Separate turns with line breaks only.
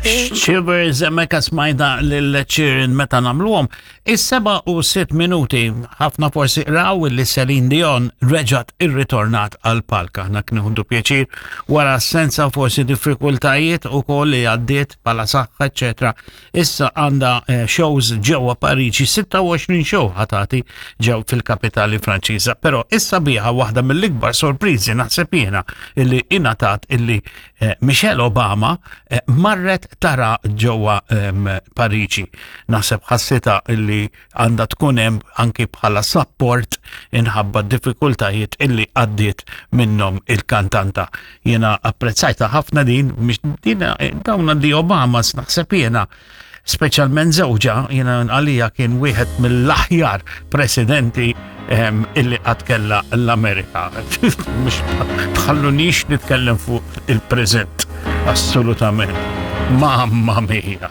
Shivers hemmhekk smajna lil Sheeran meta nagħmluhom. Is-seba' u sitt minuti ħafna forsi raw li Celine Dion reġgħet irritornat għal palk. Aħna knieħdu pjaċir wara assenza forsi diffikultajiet ukoll li għaddiet bħala saħħa eċetera. Issa għandha eh, shows ġewwa Pariġi, 26 show ħatati ġew fil-kapitali Franċiża, però issa biha waħda mill-ikbar sorpriżi naħseb jiena illi ingħatat illi eh, Michelle Obama eh, marret tara ġewwa ehm, Pariġi. Naħseb ħassita illi għandha tkun hemm anki bħala support inħabba diffikultajiet illi għaddiet minnhom il-kantanta. Jiena apprezzajta ħafna din, din eh, dawn di Obama naħseb jiena speċjalment żewġa jiena għalija kien wieħed mill-aħjar presidenti ehm, illi qatt kellha l-Amerika. Mhux tħallunix nitkellem fuq il-preżent, assolutament. Mamma mia.